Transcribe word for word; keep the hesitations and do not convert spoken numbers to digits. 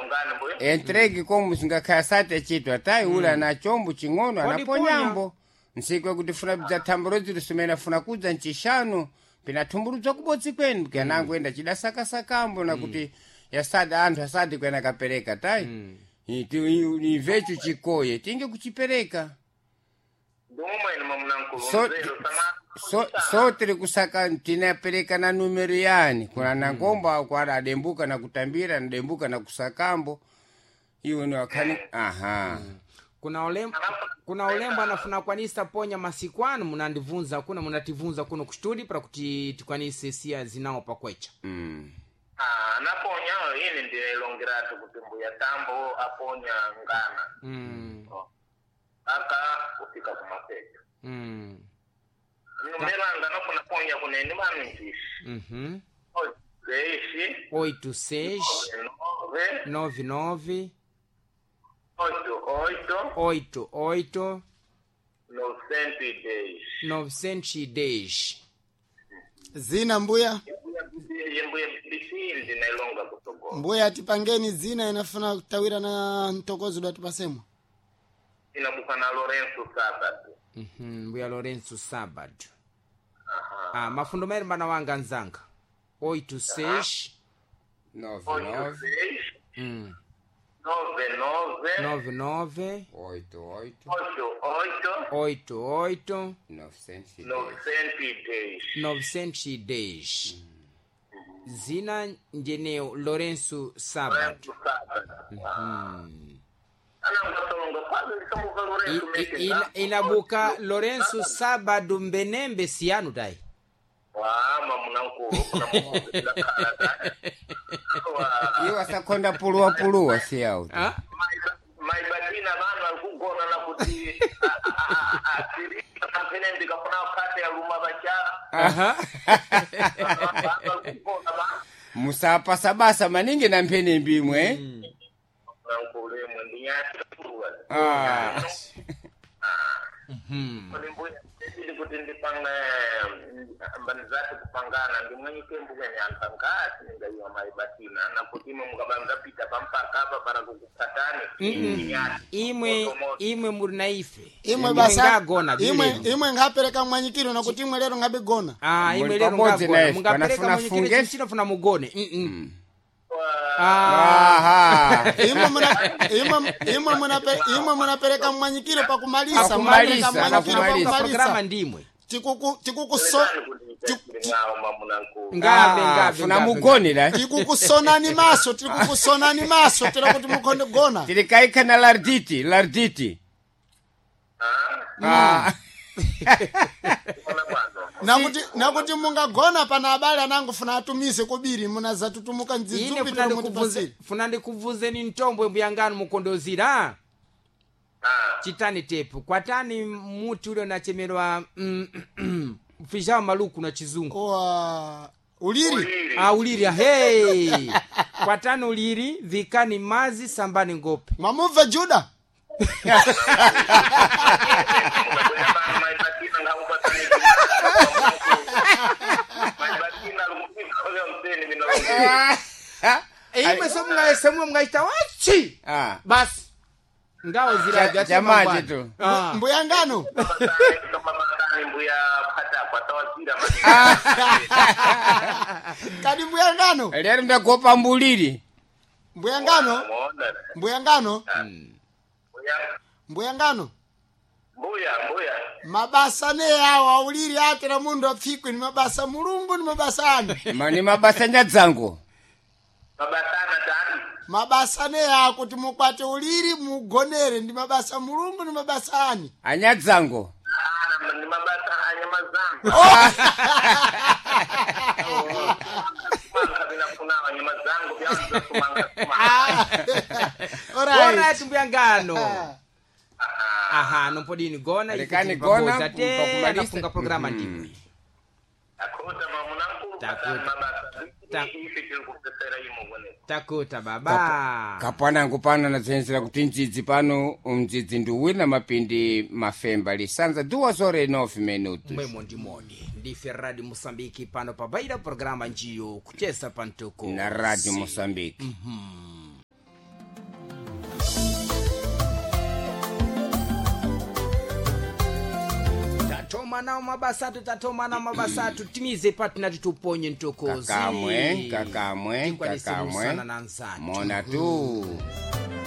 Longani mbuya. Entregue como singakhala sati achitwa tayi ula na chombo ching'ono Kodi anaponyambo nsiku kuti funa bza thamburo zitu simene afuna kudza ncixanu pinathumbuludza kubodzi kwenu kanango enda cidasakasakambo na kuti yasadi anthu asadi kwena kapereka tayi imvecho chikoye tinge kuchipereka. Ndimumwene mamunankulu. So- Nzero sama. so so tiri kusaka tinapereka na numero yani kuna nangombo akwara adembuka na kutambira nadembuka na kusakambo iwo ni wakhani aha. Kuna olembo kuna olembo anafuna kwanisa ponya masiku anu munandivunza kuno munativunza kuno kustudi para kuti tikwanise siya zinawo pakwecha. Mm. Ah, anaponya ine ndilongeratu kuti mbuya tambo aponya ngana. mm. Aka kufika kumapeto. Mm. Numeranga nofuna ponya kunene maminjisi. Uhum. Seis, oito seis nove, nove nove oito, oito, oito oito novecentos e dez. novecentos e dez. Zina mbuya. Mbuya B B C ndinailonga kutogola. Mbuya tipangeni zina inafuna kutawira na mtokozo datipasemwa. Inabuka na Lourenço Sábado. Uhum. Mbuya Lourenço Sábado. Ah, mafundo maere mbana wanga nzanga oito seis nove Oito, nove seis, mm. nove, nove, nove nove oito oito oito, oito, oito oito novecentos e dez. novecentos e dez. novecentos e dez. Zina njeneo Lourenço Sábado. Lourenço Sábado. Anangasolonga quase lisamuka Lourenço I- i- ina- inabuka Lourenço Sábado mbenembe siyanu dai. Wama munankulu kuna mukulu. Iwo asakhonda puluwa puluwa siyawo. Ah? Maibatina vanhu vari kugona na kuti asiriampenembi kafuna kate aluma vacha. Aha. Vanhu vari kugona vanhu. Musapasabasa maningi na mphenembi imwe. Nankulu imwe ndinyatiwa. Ah. Mbuya ndili kuti ndipanga mbanizati kupangana ndimwenyike mbuya nyanta ngati ndingaiwa maibatina nakuti imwe mukabanza pita pampaka apa para kukupatani. Ndinyati. Imwe Moto, moto. imwe muri na ife. Imwe basa ngagona imwe bilero. imwe ngapereka mwanyikiro nakuti imwe lero ngabigona. Ah, imwe Muli lero pabodzi ngagona na ife, mungapereka panafuna mwanyikiro funge. chinofuna mugone. Mm -mm. Wa- Ah, Aha. Imwe muna imwe imwe munape imwe munapereka mwanyikiro pakumalisa Pakumalisa, munapereka mwanyikiro pakumalisa. programa pakumalisa. ndimwe. Tikuku tikukuso Ndani kuti ndichaire mamunankulu. Ngabe Ah, ngabe. funa ngabe, mugonera tikukusonani maso tikukusonani maso tira kuti mukhonde gona. tilikaikha na larditi larditi. Ah, Ah. ona bwana. Nakuti nakuti mungagona pana abale anangofuna atumise kobiri munazatutumuka Ine ndzidzupi funa tira ndikubvunze mutipasire. funa ndikubvunzeni ntombwe mbuyanganu mukondozira. Ah, Chitani tepu kwatani muti ule unachemerwa mm, mm, mfijao maluku na chizungu. Owa uliri uliri. Ah, uliri hey. Kwatani uliri vikani mazi sambani ngope. mwamubva Juda. Mbuya bana maibatina ngakupatani. Maibatina lukupika mteni mina. Imwe somwe somwe mngaita wachi. Ah. Basi ngawo ziraga Jamaje tu. Ah. Mbuyangano Mabatani mbuya pata tawazira kadi mbuyangano Lero ndagopa mbuliri. mbuyangano Muona. mbuyangano Mbuya mbuyangano mbuya mbuya. mabasa ne awo auliri atera mundu apfikwe ni mabasa mulungu ni mabasa anu. Ma- ni mabasa nyadzango. Mabatana tani. Mabasa ne awo kuti mukwate uliri mugonere ndi mabasa mulungu ni mabasa ani. Anyadzango. Ah, ni mabasa anyama zangu. Kumanga vinafuna anyama zangu vyanza kumanga kumanga. Alright. Alright mbuyangano. Aha, nompodini gona ife Lekani tili gona, pabodzi. Ate pakumalisa. anafunga programa Mhm. ndimwe. Takuta mamunankulu Takuta. patani mabasa. Ta- Ife tiri kupesera imo kone. Takuta baba. Kapanango pano anadzenzera kuti mdzidzi pano mdzidzi ndi uwiri na mapindi mafemba lisanza duas horas e nove minutos. Mwemo ndimoni ndife Radio Mosambiki pano pabaira programa njiyo kucheza pantuko Na Radio Moçambique. Tatoma nawo mabasa atu, tatoma nawo mabasa atu. Timize patu nati tuponye ntokozi. Kakamwe, kakamwe, Tikwanise kakamwe. kusana na nzatu. Mona tu.